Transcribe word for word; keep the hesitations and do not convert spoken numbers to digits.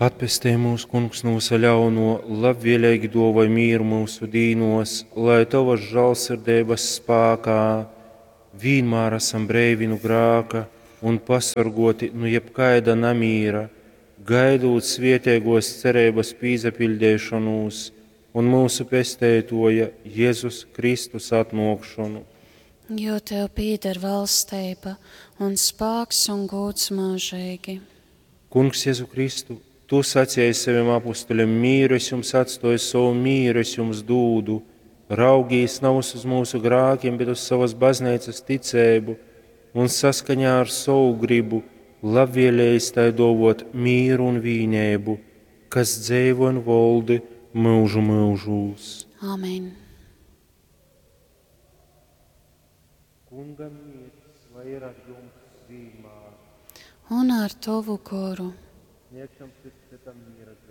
Atpestej mūs, Kungs, nu vysa ļauno, labvēlīgi duovoj mīru mūsu dīnos, lai Tavas žālsirdeibas spākā vīnmār esam breivi nu grāka un pasorgoti nu jebkaida namīra, gaidūt svietēgos cerības pīsapiļdeišonūs un mūsu pesteitoja Jēzus Kristus atnōkšonu. Jo tev pīder valsteiba un spāks un gūds mūžīgi. Kungs Jēzu Kristu, Tu sacēji saviem apustuļiem, mīru es jums atstoju, savu mīru es jums dūdu. Raugīs navus uz mūsu grākiem, bet uz savas baznīcas ticēbu un saskaņā ar savu gribu labvēlējis tai dovot mīru un vīnēbu, kas dzeivo un voldi mūžu mūžūs. Amen. Kunga miers, lai ir ar jums vienmēr. Un ar tavu goru. Sniegšam cits citam miera zīmi.